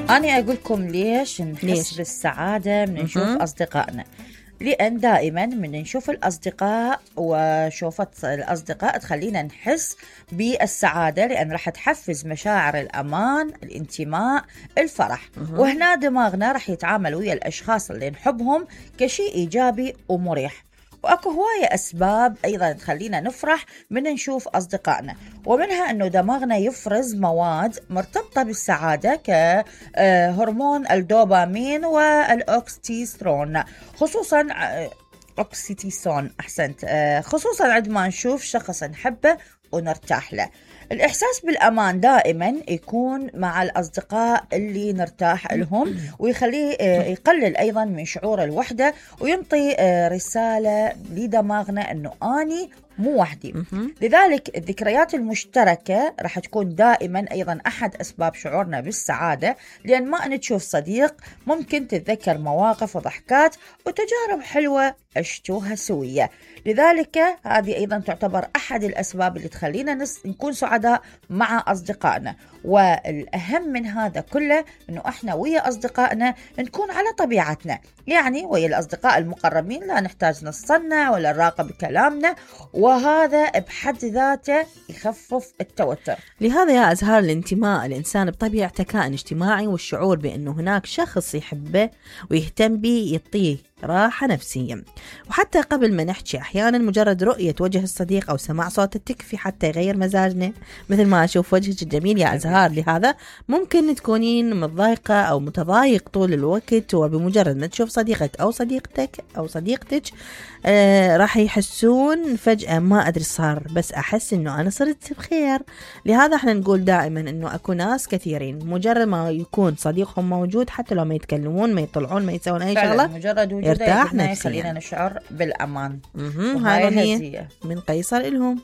أنا أقولكم ليش نحس بالسعادة من نشوف أصدقائنا. لأن دائما من نشوف الأصدقاء وشوفة الأصدقاء تخلينا نحس بالسعادة، لأن راح تحفز مشاعر الأمان، الانتماء، الفرح. وهنا دماغنا راح يتعامل ويا الأشخاص اللي نحبهم كشيء إيجابي ومريح. وأكو هواية أسباب أيضا تخلينا نفرح من نشوف أصدقائنا، ومنها أنه دماغنا يفرز مواد مرتبطة بالسعادة كهرمون الدوبامين والأوكسيتوسين، خصوصا أوكسيتوسين أحسنت، خصوصا عندما نشوف شخص نحبه ونرتاح له. الإحساس بالأمان دائما يكون مع الأصدقاء اللي نرتاح لهم، ويخليه يقلل أيضا من شعور الوحدة، وينطي رسالة لدماغنا أنه أني مو وحدي. لذلك الذكريات المشتركة راح تكون دائما أيضا أحد أسباب شعورنا بالسعادة، لأن ما أن تشوف صديق ممكن تتذكر مواقف وضحكات وتجارب حلوة عشتوها سوية. لذلك هذه أيضا تعتبر أحد الأسباب اللي تخلينا نكون سعداء مع أصدقائنا. والأهم من هذا كله أنه إحنا ويا أصدقائنا نكون على طبيعتنا، يعني ويا الأصدقاء المقربين لا نحتاج نصنع ولا نراقب كلامنا، وهذا بحد ذاته يخفف التوتر. لهذا يا أزهار الانتماء، الإنسان بطبيعته كائن اجتماعي، والشعور بأنه هناك شخص يحبه ويهتم به يعطيه راحة نفسية. وحتى قبل ما نحكي أحيانا مجرد رؤية وجه الصديق أو سماع صوته تكفي حتى يغير مزاجنا، مثل ما أشوف وجهك الجميل يا أزهار. لهذا ممكن تكونين متضايقة أو متضايق طول الوقت، وبمجرد ما تشوف صديقك أو صديقتك أو صديقتك راح يحسون فجأة ما أدري صار، بس أحس إنه أنا صرت بخير. لهذا احنا نقول دائما إنه أكو ناس كثيرين مجرد ما يكون صديقهم موجود، حتى لو ما يتكلمون ما يطلعون ما يسوون أي شغلة، مجرد وجوده يرتاح نفسيا، خلينا نشعر بالأمان. هاي من قيصر إلهم.